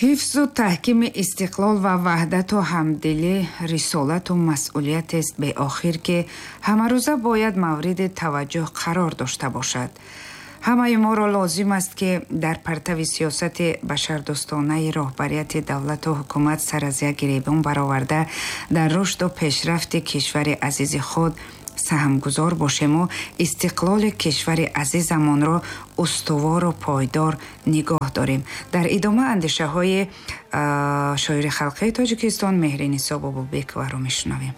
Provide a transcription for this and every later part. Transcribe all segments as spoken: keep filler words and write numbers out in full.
Ҳифзу таҳкими истиқлол ва ваҳдату ҳамдилӣ рисолату масъулиятест беохир, ки ҳамарӯза бояд мавриди таваҷҷӯҳ қарор дошта бошад. Ҳамаи моро лозим аст, ки дар партави сиёсати башардӯстонаи роҳбарияти давлату ҳукумат сар аз як гиребон бароварда, дар рушду пешрафти кишвари азизи худ саҳмгузор бошему истиқлоли кишвари азизамонро устувору пойдор нигоҳ дорем. Дар идома андешаҳои шоири халқии Тоҷикистон Меҳринисо Бобобековаро мешунавем.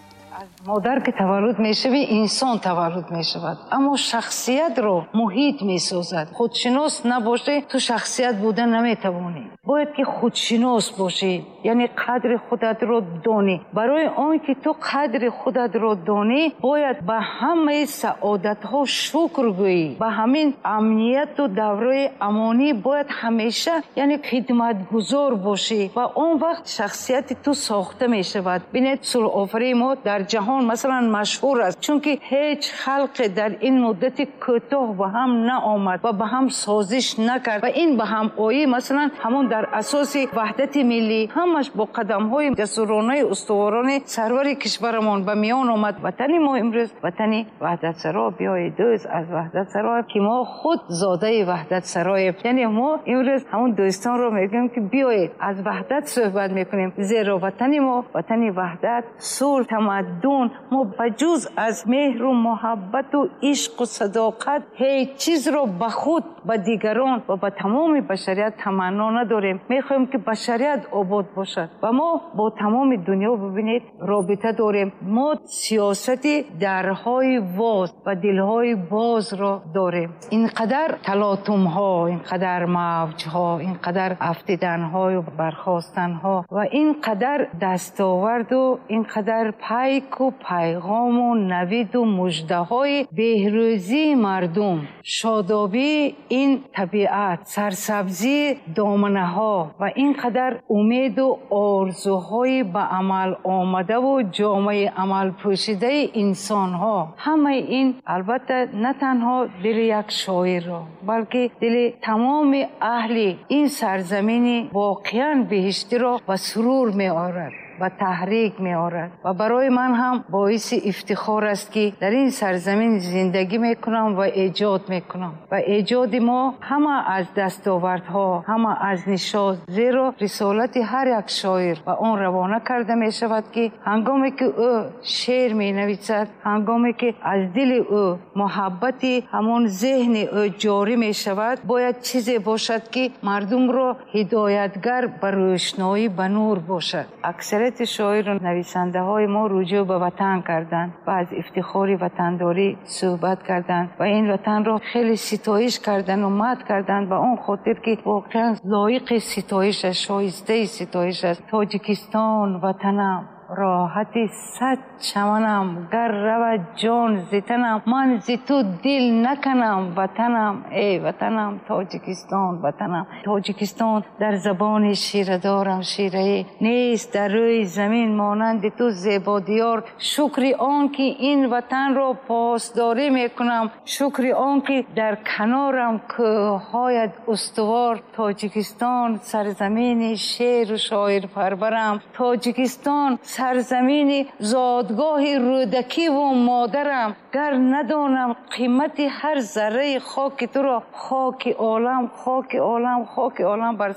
Модар ки таваллуд мешавӣ, инсон таваллуд мешавад, аммо шахсиятро муҳит месозад. Худшинос набошӣ, ту шахсият буда наметавонӣ. Бояд ки худшинос бошӣ, яъне қадри худатро донӣ. Барои он ки ту қадри худатро донӣ, бояд ба ҳамаи саодатҳо шукр гӯӣ. Ба ҳамин амнияту давраи амонӣ бояд ҳамеша, яъне, хидматгузор бошӣ ва он вақт шахсияти ту сохта мешавад. Бинед, сулҳофарии мо дар ҷаҳон масалан машҳур аст, чунки ҳеҷ халқе дар ин муддати кӯтоҳ ба ҳам наомад ва ба ҳам созиш накард ва ин ба ҳамоӣ масалан ҳамон дар асоси ваҳдати миллӣ ҳамаш бо қадамҳои ҷасуронаи устуворони сарвари кишварамон ба миён омад. Ватани мо имрӯз ватани ваҳдатсаро, биёи дӯст аз ваҳдатсаро, ки мо худ зодаи ваҳдатсароем. Яъне мо имрӯз ҳамон дӯстонро мегӯем, ки биёед аз ваҳдат суҳбат мекунем, зеро ватани мо ватани ваҳдат, сулҳ, тамаддун. Мо ба ҷуз аз меҳру муҳаббату ишқу садоқат ҳеҷ чизро ба худ, ба дигарон ва ба тамоми башарият таманно надорем. Мехоҳем, ки башарият обод бошад ва мо бо тамоми дунё, бибинед, робита дорем. Мо сиёсати дарҳои воз ва дилҳои бозро дорем. Ин қадар талотумҳо, ин қадар мавҷҳо, ин қадар афтиданҳою бархостанҳо ва ин қадар дастоварду ин қадар пайку пайғому навиду муждаҳои беҳрӯзии мардум, шодобии ин табиат, сарсабзии доманаҳо ва ин қадар умеду орзуҳои ба амал омадаву ҷомаи амалпӯшидаи инсонҳо, ҳамаи ин албатта на танҳо дили як шоирро, балки дили тамоми аҳли ин сарзамини воқеан биҳиштиро ба сурур меорад ва таҳрик меорад. Ва барои ман ҳам боиси ифтихор аст, ки дар ин сарзамин зиндагӣ мекунам ва эҷод мекунам. Ва эҷоди мо ҳама аз дастовардҳо, ҳама аз нишот, зеро рисолати ҳар як шоир ба он равона карда мешавад, ки ҳангоме ки ӯ шеър менависад, ҳангоме ки аз дили ӯ муҳаббати ҳамон зеҳни ӯ ҷорӣ мешавад, бояд чизе бошад, ки мардумро ҳидоятгар ба рӯшноӣ, ба нур бошад. Аксарияти шоиру нависандаҳои мо руҷӯъ ба ватан карданд ва аз ифтихори ватандорӣ суҳбат карданд ва ин ватанро хеле ситоиш карданду мадҳ карданд, ба он хотир ки воқеан лоиқи ситоиш аст, шоистаи ситоиш аст. Тоҷикистон ватанам, роҳати сад чаманам, гар равад ҷон зи танам, ман зи ту дил наканам. Ватанам, эй ватанам, Тоҷикистон ватанам. Тоҷикистон, дар забони ширадорам шираӣ нест, дар рӯи замин монанди ту зебодиёр. Шукри он ки ин ватанро посдорӣ мекунам, шукри он ки дар канорам кӯҳҳоят устувор. Тоҷикистон, сарзамини шеру шоирпарварам, Тоҷикистон, сарзамини зодгоҳи Рӯдакиву модарам. Гар надонам қимати ҳар зарраи хоки туро, хоки олам, хоки олам, хоки олам бар